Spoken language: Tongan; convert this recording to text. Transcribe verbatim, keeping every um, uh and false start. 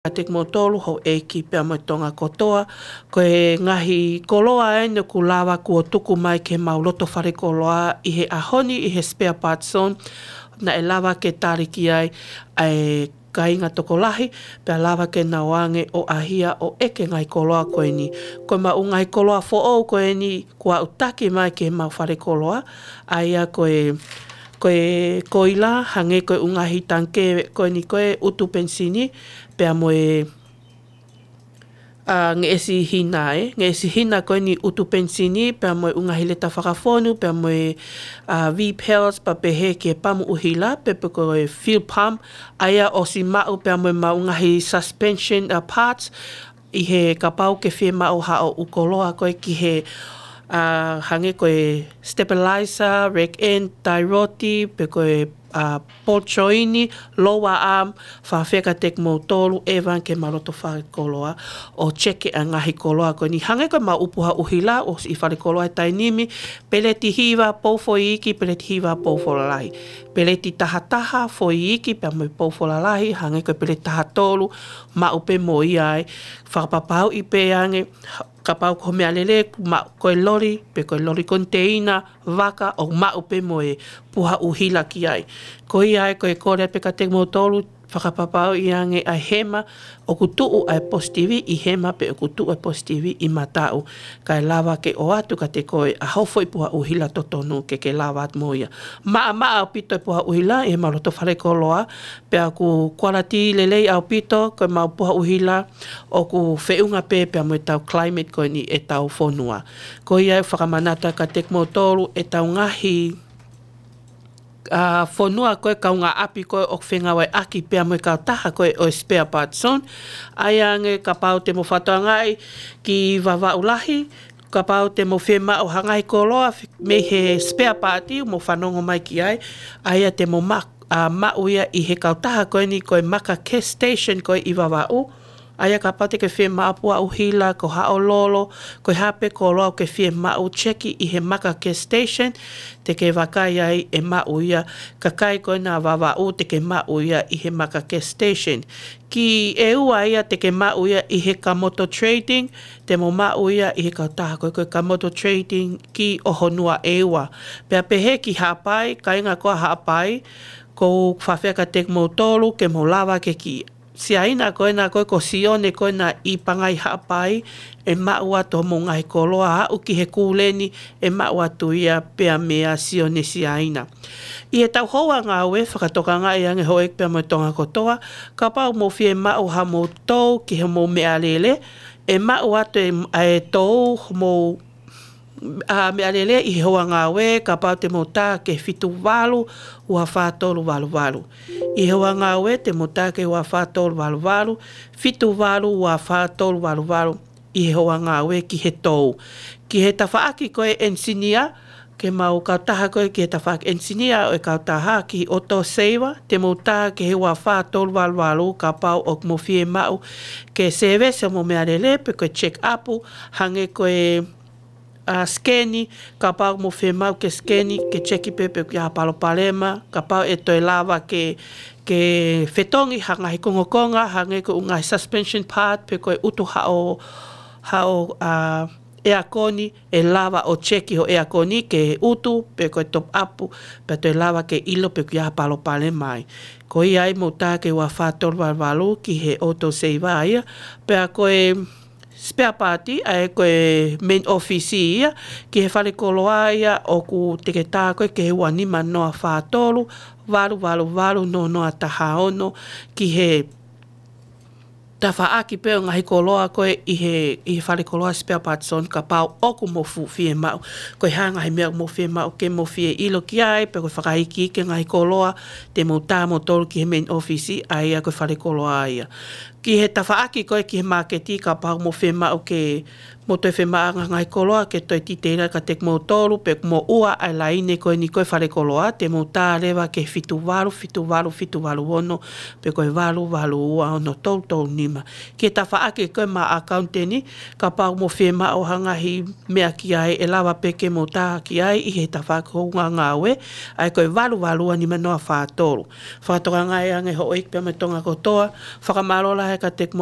kiate kimoutolu houʻeiki pea mo e Tonga kotoa. Ko e ngaahi koloa eni ʻoku lava kuo tuku mai ki heʻemau loto fale koloa ʻi he ʻaho ni ʻi he spare parts zone. Naʻe lava ke tali ki ai ʻa e kāinga tokolahi, pea lava ke nau ō ange ʻo ʻai ʻo ʻeke ngaahi koloa ko eni. Ko ʻemau ngaahi koloa foʻou ko eni kuo aʻutaki mai ki heʻemau fale koloa, ʻa ia ko e, ko e koila, hangē ko e ʻū ngaahi tangikē ko eni ko e ʻutu penisini, pea mo e, ʻa, ngeʻesi hina ē, ngeʻesi hina ko eni ʻutu penisini, pea mo e ʻū ngaahi leta fakafonu, pea mo e, ʻa, vape pens, pea pehē ki he pamu ʻuhila, pe pe ko e fuel pump, ʻa ia ʻosi maʻu pea mo ʻemau ngaahi suspension, ʻa, parts, ʻi he kapau ke fiemaʻu haʻo ʻū koloa ko ē ki he, ʻa, hangē ko e stabilizer, rack end, tie rod, pe ko e, ʻa, ball joint, lower arm, fakaafeʻi kiate kimoutolu, ʻevan ki heʻemau loto fale koloa, ʻo check ʻa e ngaahi koloa ko eni. Hangē ko ʻemau ʻū puha ʻuhila, ʻosi ʻi fale koloa he taimi ni, peleti hiva, pou foʻi iiki, peleti hiva, pou foʻi lalahi. Peleti taha taha, foʻi iiki, pea mo e pou foʻi lalahi, hangē ko e peleti taha tolu, maʻu pē mo ia ai. Fakapapauʻi pē ange, kapau ko e meʻalele, maʻu ko e loli, pe ko e loli koniteina, vaka, ʻo maʻu pē mo e puha ʻuhila ki ai. Ko ia ai ko e kole pē kiate kimoutolu, fakapapauʻi ange ʻa e hema, ʻoku tuʻu ʻa e positivi ʻi hema pe ʻoku tuʻu ʻa e positivi ʻi mataʻu. Kae lava ke ʻoatu kiate koe ʻa hoʻo foʻi puha ʻuhila totonu ke ke lava atu mo ia. Maʻamaʻa ʻaupito e puha ʻuhila ʻi heʻemau loto fale koloa, pea ʻoku quality lelei ʻaupito, ko ʻemau puha ʻuhila ʻoku feʻunga pē pea mo ʻetau climate ko eni ʻetau fonua. Ko ia ʻoku fakamanatu kiate kimoutolu ʻetau ngaahi, ʻa, fonua ko e kaungāʻapi ko ē ʻoku fengāueʻaki pea mo e kautaha ko ē ʻo e spare parts zone. ʻA ia ange kapau te mou fakatokangaʻi ki Vavaʻu Lahi, kapau te mou fiemaʻu ha ngaahi koloa f-, mei he spare part, mou fanongo mai ki ai. ʻA ia te mou ma-, ʻa, maʻu ia ʻi he kautaha ko eni ko e Maka Gas Station ko ē ʻi Vavaʻu. ʻA ia kapau te ke fiemaʻu puha ʻuhila, ko haʻo lolo, ko e hā pē koloa ʻoku ke fiemaʻu, check ʻi he Maka Gas Station, te ke vakai ai ʻe maʻu ia, kakai ko ena ʻa Vavaʻu te ke maʻu ia ʻi he Maka Gas Station. Ki ʻEua ia te ke maʻu ia ʻi he Kamoto Trading, te mou maʻu ia ʻi he kautaha ko ē ko e Kamoto Trading ki ʻOhonua ʻEua. Pea pehē ki Haʻapai, kāinga ko ē ʻa Haʻapai, ʻoku ou fakaafeʻi kiate kimoutolu, ke mou lava ke ki Siaina ko ena ko ē ko Sione ko ena ʻi Pangai Haʻapai, ʻe maʻu atu hoʻomou ngaahi koloa aʻu ki he kūleni, ʻe maʻu atu ia pea meia Sione Siaina. ʻI heʻetau houa ngāue, fakatokangaʻi ange houʻeiki pea mo e Tonga kotoa, kapau mou fiemaʻu haʻamou tou ki hoʻomou meʻalele, ʻe maʻu atu e, e tou hoʻomou, ʻa, meʻalele ʻi he houa ngāue, kapau te mou tā ki he fitu valu ua fā tolu valu valu. ʻI he houa ngāue te mou tā ki he ua fā tolu valu valu, fitu valu ua fā tolu valu valu, ʻi he houa ngāue ki he tou. Ki he tafaʻaki ko ē ʻenisinia, ke mau kautaha ko ē ki he tafaʻaki ʻenisinia ʻo e kautaha ki he Auto Saver, te mou tā ki he ua fā tolu valu valu kapau ʻoku mou fiemaʻu ke service hoʻomou meʻalele pe ko e check up, hangē ko e, ʻa, scan, kapau mou fiemaʻu ke scan, ke check pē pe ʻoku ʻi ai ha palopalema, kapau ʻe toe lava ke, ke fetongi ha ngaahi kongokonga, hangē ko e ʻū ngaahi suspension part, pe ko e ʻutu haʻo, haʻo, ʻa, ʻeakoni, ʻe lava ʻo check hoʻo ʻeakoni ke ʻutu, pe ko e top up, pea toe lava ke ʻilo pe ʻoku ʻi ai ha palopalema ai. Ko ia ai mou tā ki he ua fā tolu valu valu ki he Auto Saver ia, pea ko e spare part, ʻa ē ko e main office ia, ki he fale koloa ia ʻoku te ke tā ko ē ki he ua nima noa fā tolu, valu valu valu noa noa taha ono, ki he tafaʻaki pē ʻo e ngaahi koloa ko ē ʻi he, ʻi he fale koloa spare parts zone kapau ʻoku mou fu-, fiemaʻu. Ko e hā e ngaahi meʻa ʻoku mou fiemaʻu ke mou fie ʻilo ki ai, pe ko e fakaikiiki e ngaahi koloa, te mou tā moutolu ki he main office, ʻa ia ko e fale koloa ia. Ki he tafaʻaki ko ē ki he māketi kapau mou fiemaʻu ke Mou toe fiemaʻu ha ngaahi koloa ke toe titeila kiate kimoutolu, pe ʻoku mou ʻoua ʻa e laine ko eni ko e fale koloa, te mou tā leva ki he fitu valu, fitu valu, fitu valu ono, pe ko e valu valu ua ono tolu tolu nima. Ki he tafaʻaki ko ē maʻa ʻakauniteni, kapau ʻoku mou fiemaʻu ha ngaahi meʻa ki ai, ʻe lava pē ke mou tā ki ai ʻi he tafaʻaki hounga ngāue, ʻa ia ko e valu valu ua nima noa fā tolu. Fakatokangaʻi ange hoʻo ʻeiki pea mo Tonga kotoa, fakamālō lahi kiate